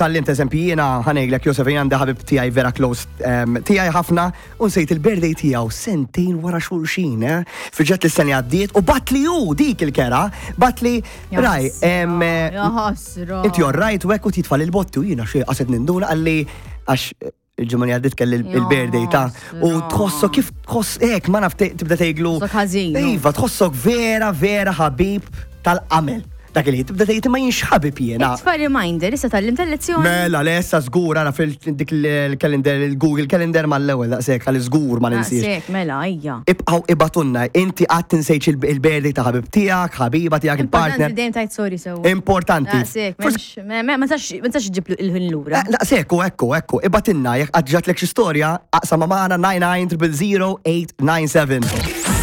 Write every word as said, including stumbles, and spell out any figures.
Tgħallimt, eżempju, jiena ħa ngħidlek, Josef, jien għandi ħabib tiegħi vera close em, tiegħi ħafna u nsejt il-birthday tiegħu sentejn wara xulxin, eh? Fiġet l-sena għaddiet u bagħatli hu dik il-kera, bagħatli raj, em, eh, Ja ħasra. Inti all right u hekk u titfa' l-botti u jiena xi qaset ninduna għalli għax il-ġimgħa li għaddiet kelli il-birthday ta' u tħossok kif tħoss hekk, ma naf, te- tibda tgħidlu. Tħossok ħażin. Iva, tħossok vera vera ħabib tal-qamel. Dak il tibda tgħid ma jienx ħabib jiena. Itfa' reminder, issa tgħallimt il-lezzjoni. Mela, lessa żgur, għara fil-dik il-calendar, il-Google Calendar mal-ewwel daqshekk għal żgur ma ninsiex. Daqshekk, mela, ejja. Ibqgħu ibagħtulna, inti qatt tinsejx il-birthday ta' ħabib tiegħek, ħabiba tiegħek, Importanti il-partner. dejjem tgħid sorry sew. Importanti. Daqshekk, Forsi- m'hemmx- ma ma tistax ma tistax ġib il-ħin lura. Eh, Daqshekk, ekku, ekku, ibagħtilna, jekk qatt ġratlek xi storja, aqsam magħna nine nine triple zero eight nine seven.